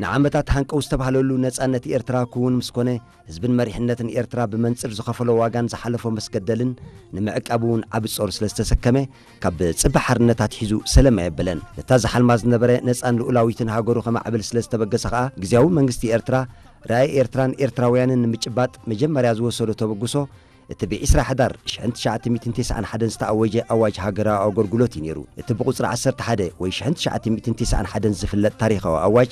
ንዓመታት ሃንቀው ዝተባህለሉ ነጻነት ኤርትራ ክውን ምስ ኮነ፣ ህዝብን መሪሕነትን ኤርትራ ብመንጽር ዝኸፈሎ ዋጋን ዝሓለፎ መስገደልን ንምዕቃብ እውን ዓቢ ጾር ስለ ዝተሰከመ፣ ካብ ጽባሕ ሓርነት ኣትሒዙ ሰለም ኣየበለን። ነታ ዝሓልማ ዝነበረ ነጻን ልኡላዊትን ሃገሩ ከማዕብል ስለ ዝተበገሰ ከኣ፣ ግዜያዊ መንግስቲ ኤርትራ ራእይ ኤርትራን ኤርትራውያንን ንምጭባጥ መጀመርያ ዝወሰዶ ተበግሶ፣ እቲ ብ ዕስራ ሕዳር ሽሕን ትሽዓተ ሚእትን ተስዓን ሓደን ዝተኣወጀ ኣዋጅ ሃገራዊ ኣገልግሎት እዩ ነይሩ። እቲ ብቁጽሪ ዓሰርተ ሓደ ወይ ሽሕን ትሽዓተ ሚእትን ተስዓን ሓደን ዝፍለጥ ታሪኻዊ ኣዋጅ፣